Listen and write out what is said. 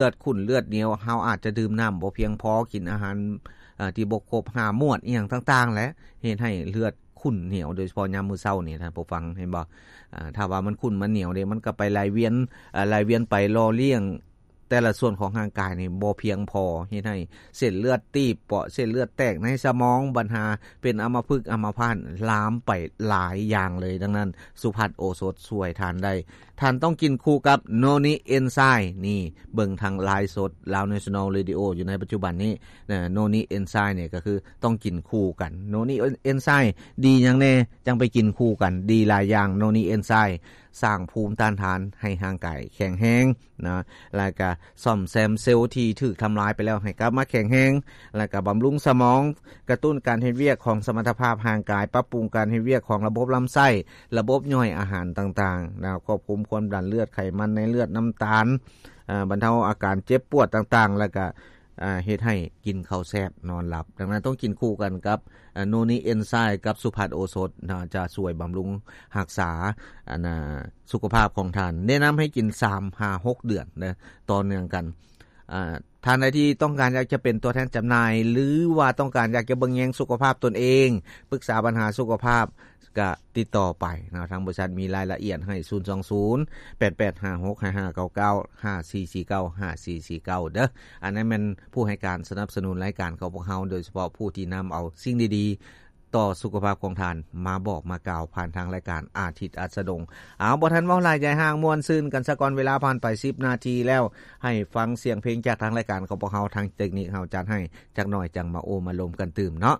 ເລືອດຂຸ້ນເລືອດໜຽວ ເຮົາອາດຈະດື່ມນ້ຳບໍ່ພຽງພໍ ກິນອາຫານ ເອີ ທີ່ບໍ່ຄົບຫ້າໝວດອີ່ຫຍັງຕ່າງໆ ແຫຼະ ເຮັດໃຫ້ເລືອດຂຸ້ນໜຽວ ໂດຍສະເພາະຍາມມື້ເຊົ້ານີ້ ທ່ານຜູ້ຟັງເຫັນບໍ່? ເອີ ຖ້າວ່າມັນຂຸ້ນມັນໜຽວເດ້ ມັນກໍໄປໄຫຼວຽນ ເອີ ໄຫຼວຽນໄປຫຼໍ່ລ້ຽງແຕ່ລະສ່ວນຂອງຮ່າງກາຍນີ້ບໍ່ພຽງພໍ ເຮັດໃຫ້ເສັ້ນເລືອດຕີບເປາະ ເສັ້ນເລືອດແຕກໃນສະໝອງ ບັນຫາເປັນອຳມະພຶກອຳມະພາດ ລາມໄປຫຼາຍຢ່າງເລີຍ. ດັ່ງນັ້ນ ສຸພັດໂອສົດຊ່ວຍທ່ານໄດ້. ທ່ານຕ້ອງກິນຄູ່ກັບໂນນິເອນໄຊ ນີ້ ເບິ່ງທາງໄລຟ໌ສົດ Lao National Radio ຢູ່ໃນປັດຈຸບັນນີ້ ໂນນິເອນໄຊນີ້ກໍຄືຕ້ອງກິນຄູ່ກັນ. ໂນນິເອນໄຊດີຫຍັງແດ່? ຈັ່ງໄປກິນຄູ່ກັນ ດີຫຼາຍຢ່າງ. ໂນນິເອນໄຊສ້າງພູມຕ້ານທານໃຫ້ຮ່າງກາຍແຂງແຮງນະ ແລ້ວກະສ້ອມແຊມເຊວທີ່ຖືກທຳລາຍໄປແລ້ວໃຫ້ກັບມາແຂງແຮງ ແລ້ວກະບຳລຸງສະໝອງ ກະຕຸ້ນການເຮັດວຽກຂອງສະມັດຖະພາບຮ່າງກາຍ ປັບປຸງການເຮັດວຽກຂອງລະບົບລຳໄສ້ ລະບົບຍ່ອຍອາຫານຕ່າງໆນະ ຄວບຄຸມຄວາມດັນເລືອດ ໄຂມັນໃນເລືອດ ນ້ຳຕານ ເອີ ບັນເທົາອາການເຈັບປວດຕ່າງໆ ແລ້ວກະ ເຮັດໃຫ້ກິນເຂົ້າແຊບນອນຫຼັບ. ດັ່ງນັ້ນຕ້ອງກິນຄູ່ກັນກັບ ເອີ ໂນນິເອນໄຊກັບສຸພັດໂອສົດນະ ຈະຊ່ວຍບຳລຸງຮັກສາ ອັນນາ ສຸຂະພາບຂອງທ່ານ. ແນະນຳໃຫ້ກິນສາມຫາຫົກເດືອນເດີ ຕໍ່ເນື່ອງກັນ. ອາ ທ່ານໃດທີ່ຕ້ອງການຢາກຈະເປັນຕົວແທນຈຳໜ່າຍ ຫຼືວ່າຕ້ອງການຢາກຈະເບິ່ງແຍງສຸຂະພາບຕົນເອງ ປຶກສາບັນຫາສຸຂະພາບ ກະຕິດຕໍ່ໄປເນາະ ທາງບໍລິສັດມີລາຍລະອຽດໃຫ້ ສູນສອງສູນ ແປດແປດຫ້າຫົກຫ້າເກົ້າເກົ້າ ຫ້າສີ່ສີ່ເກົ້າ ຫ້າສີ່ສີ່ເກົ້າ ເດີ. ອັນນັ້ນແມ່ນຜູ້ໃຫ້ການສະໜັບສະໜູນລາຍການຂອງພວກເຮົາ ໂດຍສະເພາະຜູ້ທີ່ນຳເອົາສິ່ງດີໆຕໍ່ສຸຂະພາບຂອງທ່ານມາບອກມາກ່າວຜ່ານທາງລາຍການອາທິດອັສດະດົງ. ເອົາ ບໍ່ທັນເວົ້າຫຼາຍ ຢາຍຫ່າງ ມ່ວນຊື່ນກັນສາກ່ອນ ເວລາຜ່ານໄປສິບນາທີແລ້ວ ໃຫ້ຟັງສຽງເພງຈາກທາງລາຍການຂອງພວກເຮົາ ທາງເຕັກນິກເຮົາຈັດໃຫ້ຈັກໜ້ອຍ ຈັ່ງມາໂອ້ມາລົມກັນຕື່ມເນາະ.